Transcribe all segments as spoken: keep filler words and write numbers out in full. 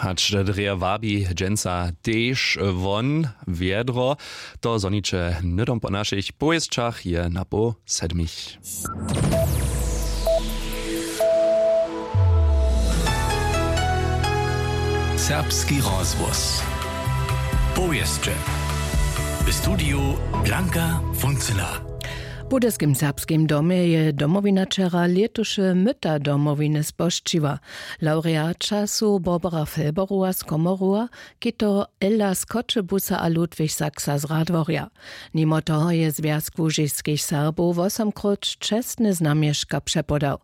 Hač drje wabi dźensa tež won wjedro. To zhoniće hnydom po našich powěsćach je napoł sedmich. Serbski rozhłos. Powěsće. W studiju Blanka Funzela. W budyskim serbskim domje je Domowina wčera lětuše myta Domowiny spožčiła. Lawreaća su Barbara Felberowa z Komoruwa, Kito Ella z Choćebuza a Ludwig Saxa z Radworja. Nimo toho je Zwjazk łužiskich Serbow wosomkróć čestne znamješka přepodał.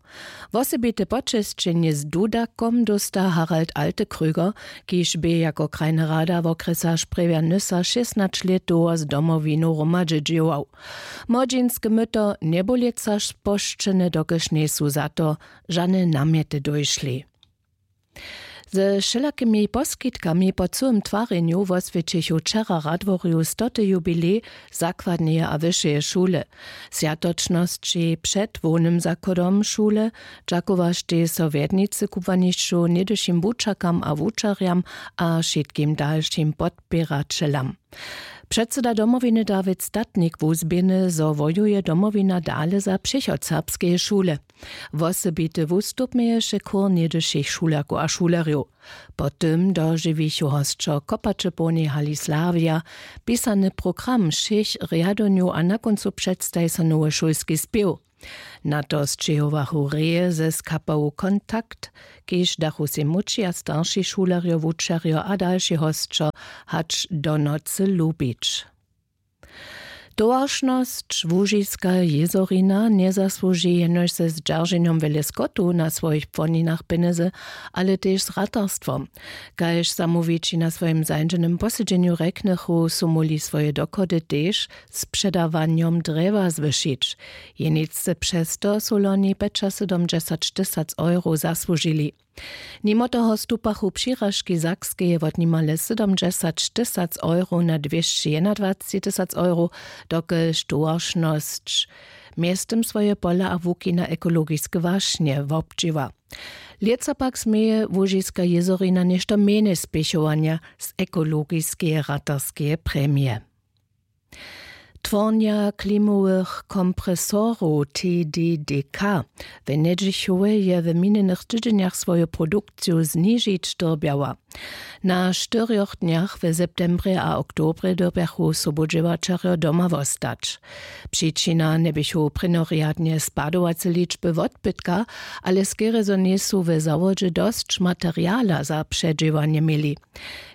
Wosebite počesćenje z dudakom dósta Harald Altekrüger, kiž bě jako krajny rada wokrjesa Sprjewja Nysa šěsnaće lět dołho z Domowinu hromadźe dźěłał. Młodźinske myto njebulěca spožčene, dokelž njejsu za to žane namjety dóšli. Ze wšelakimi poskitkami po cyłym twarjenju woswjećichu wčera w Radworju stoty jubilej zakładneje a wyšeje šule. Swjatočnosći před hłownym zachodom šule dźakowaštej so wjednicy kubłanišću, něhdyšim wučerkam a wučerjam a wšitkim dalšim podpěraćelam. Předsyda Domowiny Dawid Statnik wuzběhny, zo wojuje Domowina dale za přichod serbskeje šule. Wosebity wustup měješe chór něhdyšich šulerkow a šulerjow. Po tym dožiwichu hosćo kopače połnej hali Slawja, pisany program wšěch rjadownjow a na kóncu předstaji so nowy šulski spěw. Na to sćěhowachu reje ze skapału Kontakt, kiž dachu sej młódši a starši šulerjo, wučerjo a dalši hosćo hač do nocy lubić. Towaršnosć Łužiska jězorina njezasłuži jenož ze zdźerženjom wjele skotu na swojich płoninach pjenjezy, ale tež z ratarstwom. Kaž zamołwići na swojim zańdźenym posedźenju rjeknychu, su móhli swoje dochody tež z předawanjom drjewa zwyšić. Jeničce přez to su loni pjećasydomdźesać tysac euro zasłužili. Nimo toho stupachu přiražki Sakskeje wot nimale sydomdźesać tysac euro na dwěsći jednadwaceći tysac euro, dokelž towaršnosć mjeztym swoje pola a łuki na ekologiske wašnje wobdźěła. Lětsa pak směje Łužiska jězorina něšto mjenje spěchowanja z ekologiskeje ratarskeje premije. Twornja klimowych kompresorow T D D K w Njedźichowje je w minjenych tydźenjach swoju produkciju znižić dyrbjała. Na štyrjoch dnjach w septembrje a oktobrje dyrbjachu sobudźěłaćerjo doma wostać. Přičina njeběchu prěnjorjadnje spadowace ličby wotbytka, ale skerje zo njejsu w zawodźe dosć materiala za předźěłanje měli.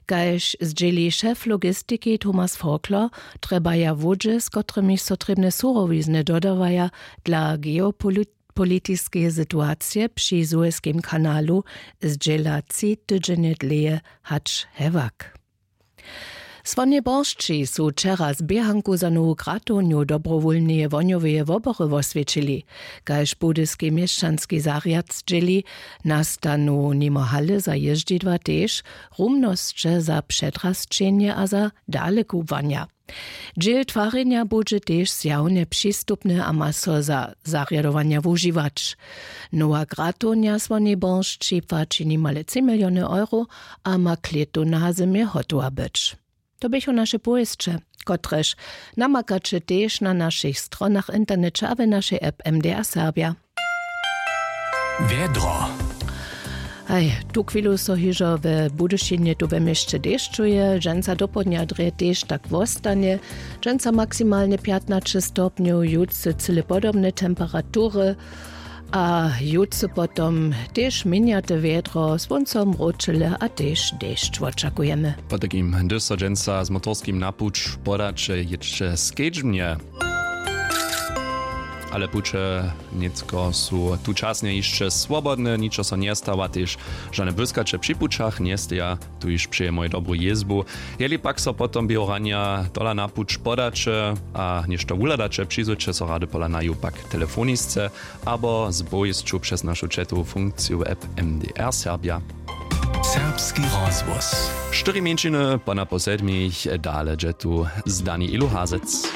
Kaž zdźěli šef logistiki Thomas Forkler, trjebaja łódźe, z kotrymiž so trěbne surowizny dodawaja dla geopolitiskeje situacije při suezkim kanalu, zdźěla tři tydźenje dlěje hač hewak. Słonje Boršći su wčera z běhanku za nowu gratownju dobrowólneje wohnjoweje wobory woswjećili. Kaž budyski měšćanski zarjad zdźěli, nastanu nimo hale za jězdźidła tež rumnosće za předrasćenje a za dalekubłanja. Dźěl twarjenja budźe tež zjawnje přistupny a ma so za zarjadowanja wužiwać. Nowa gratownja Słonje Boršći płaći nimale tři miliony euro a ma klětu na zymje hotowa być. To běchu naše powěsće, kotrež namakaće tež na našich stronach w interneće a w našej app M D R Serbja. Wjedro. Haj, tuchwilu so hižo we Budyšinje tu we měsće dešćuje, dźensa dopołdnja drje tež tak wostanje. Dźensa maksimalnje pjatnaće stopnjow, jutře cyle podobne temperatury. A jutře potom tež měnjate wjedro, słónco mróčele a tež dešć wočakujemy. Potajkim, hdyž so dźensa z motorskim na puć podaće, jědźće skedźbnje. Ale puće nětko su tučasnje hišće swobodne, ničo so njestawa, tež žane błyskaće při pućach njesteja. Tu hiž přeje mój dobru jězbu. Jeli pak so potom běho ranja tola na puć podaće a něšto wuhladaće, přizwyće so rady pola naju pak telefonisce abo z powěsću přez našu chatowu funkciju app M D R Serbja. Serbski rozhłos. Štyri mjeńšiny po napoł sedmich, dale dźe tu z Dani Ilu Hazec.